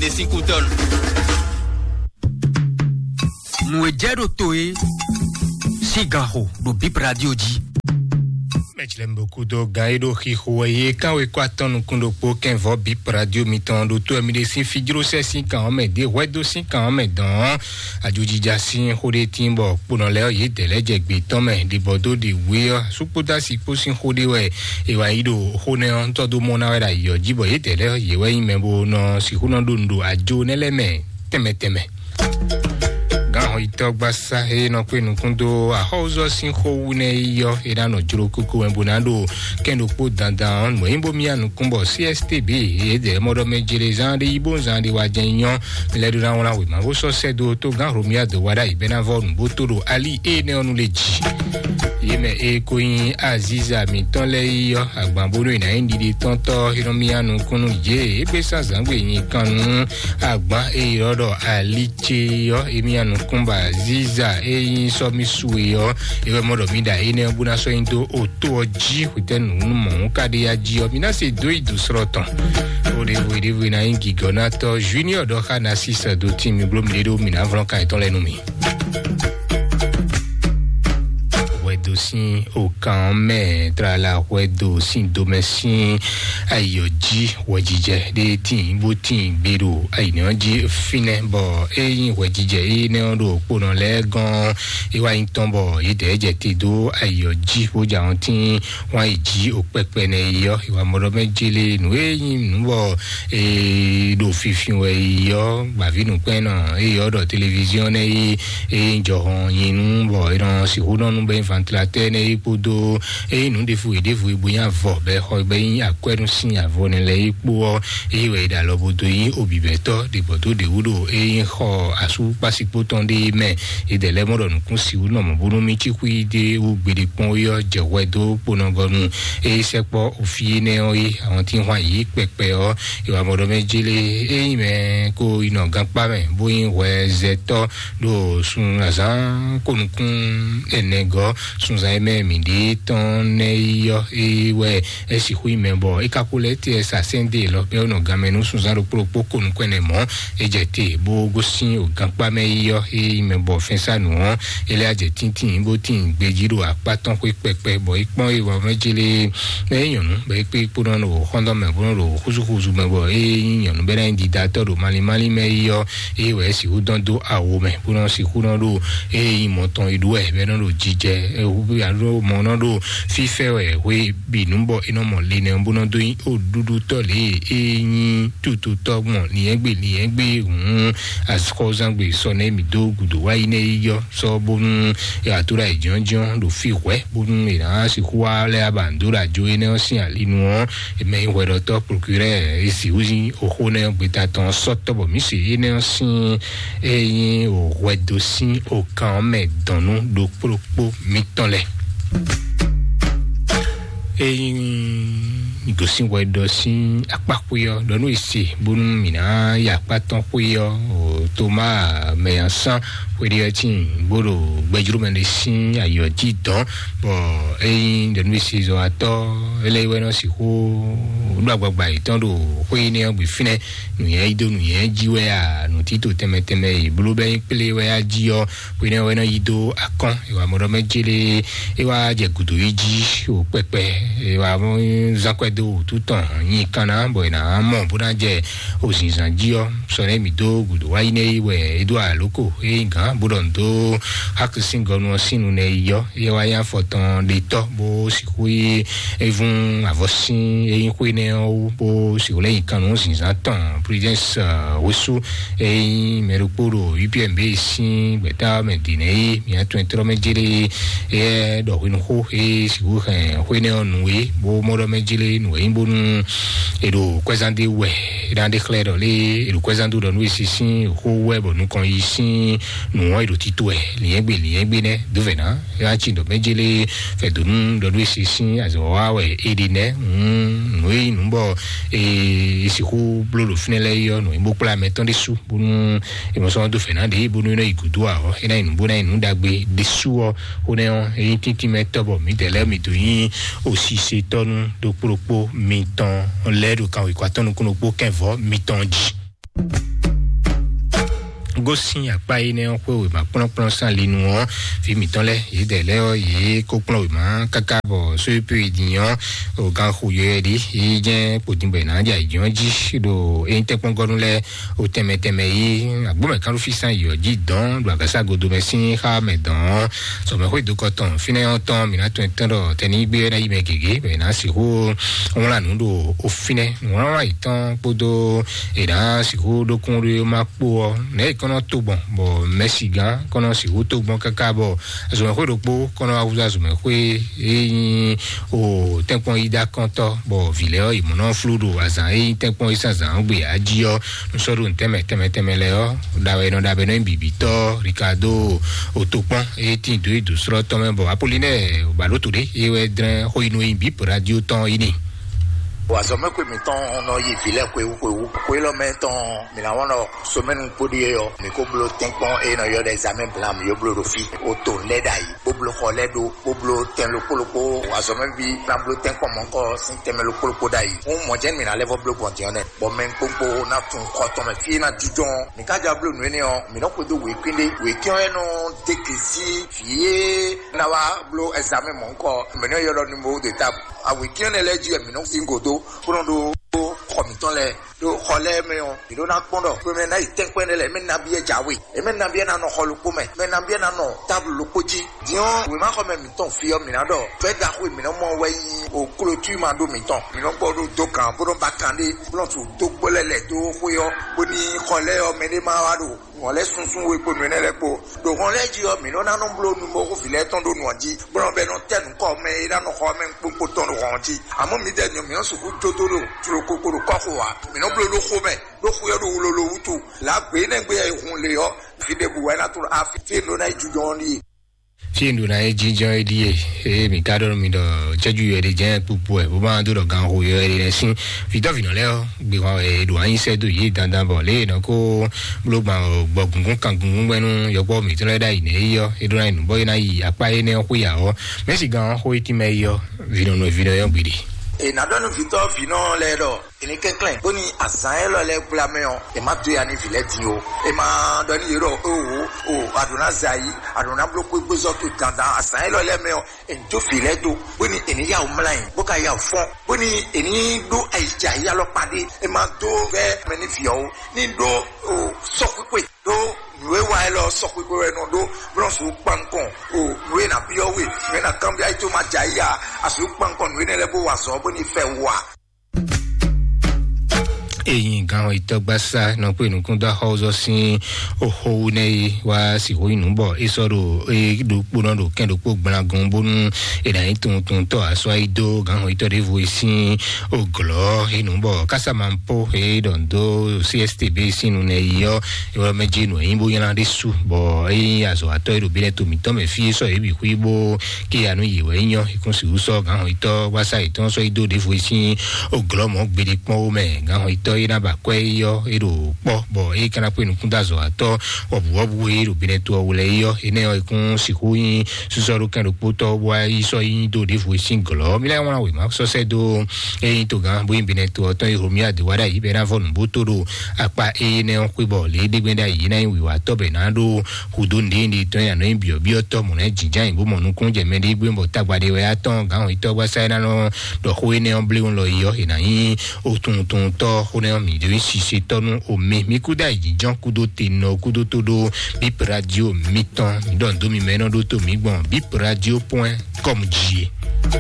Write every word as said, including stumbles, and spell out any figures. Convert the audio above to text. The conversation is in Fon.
ɖe sín kútɔ́nu. Nǔ e jɛ ɖo to e sín gan xo ɖo Bip Radio jí. Mɛjlɛm bokudo gan e ɖo xixo wɛ ye kan we kɔ atɔn nukun ɖokpó kɛnvɔ Bip Radio mitɔn ɖo to mi ɖe sín fijlósɛ sín kan ɔ́ mɛ ɖě hwɛdo sín kan ɔ́ mɛ dɔn. Ajojija sín xó ɖé tín bɔ kponɔ lɛ́ɛ ɔ́ yědɛɛ lɛ́ɛ jɛ gbě tɔn mɛ ɖibɔ dó ɖi wé ɔ́, sukpódasi kpó sín xó ɖé wɛ è wǎ yi ɖo xó nɛ́ ɔ́ tɔ́ dó mɔ ná wɛ ɖo ayǐ ɔ́ jí, bɔ yědɛɛ lɛ́ɛ yě wɛ nyí mɛ bó nɔ sixú nɔ ɖo nǔ ɖo ajo nɛ́ lɛ́ɛ mɛ tɛnmɛ tɛnmɛ. Gǎnhɔnyitɔ́ gbasá e nɔ kpé nukún dó axɔ́wúzɔ́ sín xó wú nɛ́ yi ɔ́, é ná nɔ jló kókó wɛ bó ná ɖo kɛ́n ɖokpó dandan ɔ́, mɔ̌ nyí bó myá nukún bɔ C S T B yědɛɛ mɔ ɖɔ mɛ jlezán ɖé yí bó zán ɖé wá jɛ́n nyɔ́. Mi lɛ́ ɖó ná wlán wěma bó sɔ́ sɛ́ dó tó gǎn Hlomia dó wá ɖ'ayǐ bɛ́ ná vɔ́ nǔ bó tó ɖo ali énɛ́ ɔ́ nu lě jí. Yě mɛ e ko nyí Aziza mǐtɔn lɛ́ɛ yi ɔ́, agban bónú è nǎ nyí ɖiɖe tɔn tɔ́ é nɔ myá nukún nú yě. É gbé sán zǎngbe nyi kan nú agban e ylɔ́ ɖɔ ali ce ɔ́, é myá nukún bɔ Aziza e nyí sɔ́mísú e ɔ́, é wɛ mɔ ɖɔ mí ɖa énɛ́ ɔ́ bó ná sɔ́ nyi dó oto ɔ́ jí hwetɛ́nu nú mɔ̌ ka ɖé ya jí ɔ́, mí ná se dó yi dǒ slɔ́ tɔn. Ó ɖěvo ɖěvo ná nyí gǐgɔ́nátɔ́ Junior ɖɔ xá ná sísɛ dó tín mi bló mi ɖé ɖó mǐ ná vlɔ́n kan yětɔn lɛ́ɛ nú mì. Hwɛdo sín okan mɛ tlala hwɛdo sín domɛ sín ayɔ jí hwɛjijɛ ɖé tín bó tín gbé ɖo ayǐnɛ́ ɔ́ jí fínɛ́ bɔ é nyí hwɛjijɛ énɛ́ ɔ́ ɖo kponɔ lɛ́ɛ gɔ́n é wá nyí tɔn bɔ yědɛɛ jɛ te dó ayɔ jí bó jɛ ahɔn tín wá yi jí o kpɛkpɛ nɛ yi ɔ́, ìwà mɔɖɔ mɛ jélé nǔ e nyí nǔ bɔ e ɖo finfin wɛ yi ɔ́, gbàví nǔkpɛ́nnɔ e ɔ́ ɖɔ televiziɔn nɛ yi e jɔhɔn nyi nú bɔ e nɔ sixú nɔ nú bɛ nyi vantilatɛ́ nɛ yi kpódó e nyí nǔ ɖěvo e ɖěvo e bo nyi avɔ bɛ xɔ bɛ nyi akwɛ́nú sín avɔ nɛ lɛ yi kpó ɔ́, eye wɛ e ɖo alɔ bo dó nyí obibɛtɔ́ ɖě gbɔ dó ɖě wú ɖo e nyí xɔ asú kpásikpó tɔn ɖé mɛ. Yědɛɛ lɛ́ɛ mɔ ɖɔ nǔkún sixú nɔ mɔ̌ bónú mì cí xwí ɖé wú gbeɖé kpɔ́n é ɔ́ jɛ hwɛ dó kponɔgɔnu e sɛkpɔ́ ofí énɛ́ ɔ́ é. Àwọn tí ń hwan yě kpɛkpɛ ɔ́, ìwà mɔɖɔ mɛ jélé é nyí mɛ kó yi nɔ gankpá mɛ bó nyí hwɛzɛtɔ́ ɖo sun azǎn kó nukún ɛnɛ gɔ́ sunzan e mɛ mǐ ɖe tɔn nɛ́ yi ɔ́ é wɛ é sixú nyí mɛ bɔ é ka ko lɛ́ tɛ sa sɛ́n dó e lɔ bɛ́ nɔ ganmɛ nú sunzán ɖokpó ɖokpó ko nukún ɛnɛ mɔ̌. É jɛ te bó gosín o gankpá mɛ yi ɔ́ é nyí mɛ bɔ fɛ́nsánú ɔ́ é lɛ́ jɛ tíntín bó tín gbejí ɖo akpá tɔn xwé kpɛkpɛ bɔ é kpɔ́n é wɔ mɛ jélé mɛ é nyɔ̌nu bɔ é kpé kpó nɔ ɖo xɔ́ndɔ́ mɛ bó nɔ ɖo xúzúxúzú mɛ bɔ é nyí nyɔ̌nu bɛ́ ná nyí didatɔ́ ɖo malín malín mɛ yi ɔ́ é wɛ é sixú dɔn dó awo mɛ bó nɔ sixú nɔ ɖo é nyí mɔ tɔn e ɖó wɛ bɛ́ nɔ ɖo jijɛ é hu alo mɔ nɔ ɖo fífɛ wɛ hwe bǐ nú bɔ é nɔ mɔ linɛ bó nɔ dó nyí oɖúɖútɔ́ lě e é nyí tututɔ́ gbɔn liɛ́ngbé liɛ́ngbé hǔn axɔ́zangbe sɔ nɛ́ mǐ dó gǔdo wá yi nɛ́ yi yɔ sɔ bónú é wǎ tó ɖo ayǐjínjɔ́n ɖo fí hwɛ̌ bónú è nǎ sixú wá lɛ́ abǎ dó ɖo ajo énɛ́ ɔ́ sín ali nu ɔ́, è mɛ nyí hwɛɖɔtɔ́ prokirɛ́ɛ é sixú nyí oxó nɛ́ gbeta tɔn sɔ́ tɔ́ bɔ mǐ se énɛ́ ɔ́ sín é nyí hwɛdo sín okan ɔ́ mɛ dɔn nú ɖokpó ɖokpó mitɔn lɛ́ɛ. Ényí mi gosín hwɛ ɖɔ sín akpáxwé ɔ́, ɖɔ nú è se bónú mǐ ná yi akpá tɔn xwé ɔ́, o Toma mɛ asán xwé ɖé ɔ́ tíin bó ɖo gbɛjló mɛ ɖé sín ayǐ ɔ́ jí dɔn, bɔ ényí ɖɔ nú è se zɔn atɔ́ é lɛ́ wɛ nɔ sixú ɖó agbagba yětɔn ɖo xwé énɛ́ ɔ́ gbe fínɛ́, nǔnywɛ́ yí dó nǔnywɛ́ jí wɛ a, nǔtítò tɛnmɛ tɛnmɛ e bló bɛ́ nyí kplé wɛ a jí ɔ́, xwé énɛ́ wɛ nɔ yí dó akɔ́n, è wǎ mɔ ɖɔ mɛ jélé é wá jɛ gǔdo yi jí o kpɛkpɛ, è wǎ zán kwɛ́ dó wǔtu tɔn nyi kanna bɔ è nǎ mɔ bó ná jɛ o zǐnzán jí ɔ́. Sɔ nɛ́ mǐ dó gǔdo wá yi nɛ́ yi wɛ é dó alǒko é nyí gǎn bó ɖɔ nǔ dó Hakisíngɔnu ɔ́ sín nu nɛ́ yi ɔ́, é wá nyí afɔ tɔn ɖetɔ́ bó sixú yi evún avɔsín é nyí xwé nɛ́ ɔ́ wú bó sixú lɛ́ nyi kan nǔ zǐnzán tɔn Prudence wosú é nyí mɛ ɖokpó ɖo U P M B sín gbɛ̌ta mɛ dǐnɛ́ é mǐ atɔn e tlɔ́ mɛ jélé é ɖɔ hwenu xó é sixú hɛn xwé nɛ́ ɔ́ nǔ é bó mɔ ɖɔ mɛ jélé nǔ é nyí bónú è ɖo kwɛ́zán ɖé wɛ é ná ɖe xlɛ́ ɖɔ lé è ɖo kwɛ́zán dó ɖɔ nú è si sín xó wɛ bɔ nukɔn yi sín nǔ ɔ́ è ɖo tito wɛ lǐnyɛ́gbe lǐnyɛ́gbe nɛ́ dó vɛ̌ ná é wá cí ɖɔ mɛ jélé fɛ̌dónú ɖɔ nú è si sín azɔ̌ wa wɛ é ɖe nɛ́ nǔ é nyí nǔ bɔ è sixú bló ɖo fínɛ́ lɛ́ɛ é ɔ́ nǔ é bó kplá mɛ tɔn ɖésú bónú è mɔ sɔ́ dó fɛ̌ ná ɖě bónú é nɔ yi gǔdo ǎ ɔ́ é ná nyí nǔ bó ná nyí nǔ ɖagbe ɖésú ɔ́. Xó nɛ́ ɔ́ é nyí tíntín mɛ tɔ́ bɔ mǐdɛɛ lɛ́ɛ mǐ dó nyí osisetɔ́nú ɖokpó ɖokpó mitɔn lɛ́ɛ ɖo kan wěkwatɔ́ nukún ɖokpó kɛ́nvɔ́ mitɔn jí. Ó sín akpá énɛ́ ɔ́ xwé wěma kplɔ́nkplɔ́n sín ali nu ɔ́, vǐ mǐtɔn lɛ́ɛ yědɛɛ lɛ́ɛ ɔ́, yě kó kplɔ́n wěma káká bɔ sóyépéyi din ɔ́, o gan xo yɔyɔ ɖi, yí jɛ́n kpodin bɔ è nǎ jɛ ayǐjínjɔ́n jí ɖo ényítɛ́nkpɔ́ngɔ́nú lɛ́ɛ o tɛnmɛ tɛnmɛ yí agbómɛkánɖófísán yǐ ɔ́ jí dɔ̌n ɖo agǎsa godo mɛ sín xá mɛ dɔ̌n ɔ́, sɔmɛxwé dokɔ tɔn fínɛ́ ɔ́ tɔn mǐ ná tunwun tɔn ɖɔ tɛnígbé ɔ́ ná yi mɛ gěgé bɔ è nǎ sixú wlán nǔ ɖo o fínɛ́ nǔwlánwlán yětɔn kpódó è nǎ sixú ɖókún ɖó ma kpó ɔ́, nɛ̌ è kɔn nɔ to gbɔn bɔ mɛsigán kɔn nɔ sixú to gbɔn káká bɔ azɔ̌mɛxwé ɖokpó kɔn nɔ wá húzú azɔ̌mɛxwé e nyí o tɛ́nkpɔ́n yídá kɔntɔ́ bɔ vǐ lɛ́ɛ ɔ́ yě mɔ nɔ flú ɖo azǎn e nyí tɛ́nkpɔ́n yí sín azǎn gbe ǎ jí ɔ́, nú sɔ́ ɖo nǔ tɛnmɛ tɛnmɛ tɛnmɛ lɛ́ɛ ɔ́, ɖawɛ nɔ ɖabɛ nɔ nyí bǐbítɔ́ Ricardo Otokpɔn e tín dó yi dǒ slɔ́ tɔn mɛ bɔ Apolinɛ Baloto ɖé e wɛ dlɛ́n xó yi nú e nyí bǐ radio tɔn yi ni. Wazɔmɛkwe mǐtɔn nɔ yi vǐ lɛ́ɛ xwewú xwewú. Xwe élɔ́ mɛ tɔn mǐ ná wɔn ɖɔ somɛnu kpóɖí é ɔ́, mǐ ko bló tɛ́nkpɔ́n e nɔ ylɔ́ ɖɔ examen blanc mǐ yó bló ɖo fí. O to lɛ́ ɖ'ayǐ, bó bló xɔ lɛ́ ɖó, bó bló tɛn ɖokpó ɖokpó. Wazɔmɛví ná bló tɛ́nkpɔ́n mɔ̌kɔ sín tɛnmɛ ɖokpó ɖokpó ɖ'ayǐ. Hǔn mɔ̌ jɛ́n mǐ ná lɛ́ vɔ bló gbɔn din ɔ́ nɛ́, bɔ mɛ kpókpó ná tunwun xɔ tɔn mɛ fí é ná jínjɔ́n. Mǐ ká jɔ bló nǔ énɛ́ ɔ́, mǐ nɔ xwedó wěkwín ɖé, wěkwín ɔ́ é nɔ dó gěsí vǐ e ná wá bló examen mɔ̌kɔ, mǐ nɔ ylɔ́ ɖɔ numéro de table. Awěkwín énɛ́ lɛ́ɛ jí wɛ mǐ nɔ sín gǒdó, bó nɔ ɖó xɔ mǐtɔn lɛ́ɛ. Ɖo xɔ lɛ́ɛ mɛ ɔ́, mǐ ɖó ná kpɔ́n ɖɔ xwe mɛ ná yi tɛ́nkpɛ́n ɖé lɛ́ɛ, mɛ ná biɛ jǎwe, mɛ ná biɛ ná nɔ xɔ ɖokpó mɛ, mɛ ná biɛ ná nɔ táblu ɖokpó jí. Din ɔ́, wěmaxɔmɛ mǐtɔn fí ɔ́, mǐ ná ɖɔ fɛ́ ɖaxó e mǐ nɔ mɔ wɛ nyí o klotúma ɖó mǐtɔn. Mǐ nɔ gbɔ ɖó dó gǎn bó nɔ ba kan ɖé, bó nɔ su dó gbó lɛ́ lɛ̌ dó xwé ɔ́, bó ní xɔ lɛ́ɛ ɔ́, mɛ ɖé má wá ɖo hɔn lɛ́ɛ sunsun we kpo nǔ énɛ́ lɛ́ɛ kpo. Ɖo hɔn lɛ́ɛ jí ɔ́, mǐ nɔ ná nɔ bló nǔgbó xó vǐ lɛ́ɛ tɔn ɖó nǔ ɔ́ jí, bó nɔ bɛ nɔ tɛ nǔkɔ mɛ e ná nɔ xɔ mɛ kpókpó tɔn ɖo hɔn jí. Àmọ́ mǐdɛɛ nyɔ mǐ nɔ sixú jó dó ɖo jlokoko ɖo kɔ́xo ǎ. Mǐ nɔ bló ɖó xó mɛ, ɖó xwé ɔ́ ɖo wlolo wútu. Lǎ gbě énɛ́ gbe e hun lě ɔ́, fí ɖěbǔ wɛ ná tló afi fí e nɔ ná yi jujɔ ɔ́ ɖíe. Fí e nɔ ná yi jínjɔ́n é ɖíe, eye mǐ ka ɖɔ nú mi ɖɔ cɛ́jú yɔ ɖé jɛ́n kpukpu wɛ, bó ma dó ɖɔ gan xo yɔ ɖé lɛ́ɛ sín. Vǐtɔ́ vǐnɔ lɛ́ɛ ɔ́, gbé hwan wɛ è ɖo anyi sɛ́ dó yě dandan bɔ lě e è nɔ kó bló gbɔn gbɔ gǔngún kan gǔngún gbɛ́ nú yɔkpɔ́ mǐtɔn lɛ́ɛ ɖ'ayǐ nɛ́ é ɔ́, é ɖó ná yi nǔ bɔ é ná yi akpá énɛ́ ɔ́ xwé ya ɔ́. Mɛ̌si gan ɔ́ xó é tínmɛ é ɔ́, vǐnɔ nɔ vǐnɔ yɔ́ gbeɖé. È nǎ ɖɔ nú vǐtɔ́ vǐnɔ lɛ́ɛ ɖɔ è ní kɛnklɛ́n bó ní azǎn élɔ́ lɛ́ɛ gbla mɛ ɔ́, è má dó ya ní vǐ lɛ́ɛ din o. È má ɖɔ ní yě ɖɔ o o o, àɖǒ ná zɛ ayí, àɖǒ ná bló kpégbézɔ́ towe dandan azǎn élɔ́ lɛ́ɛ mɛ ɔ́, è ní dó vǐ lɛ́ɛ dó, bó ní è ní yá wǔ mlá nyi, bó ka yá wǔ fɔ́n, bó ní è ní ɖó ayǐjǎyí alɔkpa ɖé. È má dó vɛ́ mɛ ní vǐ ɔ́ o, ní ɖó o sɔ́xwíxwe ɖó nǔ e wa élɔ́ sɔ́xwíxwe wɛ nɔ ɖó blɔ́ sǔ kpan nukɔn o nǔ e ná byɔ́ we, nǔ e ná kanbyɔ́ ayí tó ma jɛ ayí a, asǔ kpan nukɔn nǔ énɛ́ lɛ́ɛ bó wa azɔ̌ bó ní fɛ wa. Eyin gan itɔgbasa nɔ kpe nukun dɔ xɔzɔ sin oxowu nɛ yi wa si ho inu bɔ esɔ ɖo e ɖokpo nɔ ɖo kɛn ɖokpo gblagun bonu e na yi tun tun tɔ asɔ ayi do gan itɔ ɖevo e sin oglɔ enu bɔ kasamanpo e ɖɔn do C S T B sinu nɛ yi yɔ ewɔ mɛ dzi nu eyin bo ylan ɖe su bɔ eyin azɔ atɔ e ɖo bi lɛ to mitɔ mɛ fi sɔ ebi hui bo ke anu yi wɛ nyɔ ikun si wusɔ gan itɔ wasa itɔ sɔ ido ɖevo e sin oglɔ mɔ gbede kpɔn wo mɛ gan itɔ e na ba kɔ e yɔ e ɖo kpɔ bɔ e kana kpe nukun da azɔ atɔ wɔbu wɔbu e ɖo bi lɛ to ɔwlɛ yɔ enɛ yɔ ikun si hu yin susɔ ɖo kɛn ɖokpotɔ wa yi sɔ yin do ɖevo e sin glɔ mi lɛ ŋlɔ wema sɔsɛ do eyin to gan bo yin bi lɛ to ɔtɔ yi homi adi wa ɖa yi bɛ na vɔ nubo to ɖo akpa eye nɛ xwe bɔ le ɖe gbɛ ɖa yi na yi wiwa tɔ bɛ na ɖo hudo nɖe nɖe tɔn ya nɔ yi biɔ biɔ tɔ mɔ na yi jinjan yi bo mɔ nukun jɛ mɛ ɖe gbɛ bɔ tagba ɖe wɛ atɔn gan yi tɔ gba sa na nɔ ɖɔ xo ene ɔ blewu lɔ yi ɔ e na yi o tun tun tɔ xo ne ɔ mi ɖe sise tɔ nu o mɛ mi kuda yi jinjan kudo te nɔ kudo to ɖo bip radio mi tɔn mi ɖɔ ndo mi mɛ nɔ ɖo to mi gbɔn bip radio point com dzi.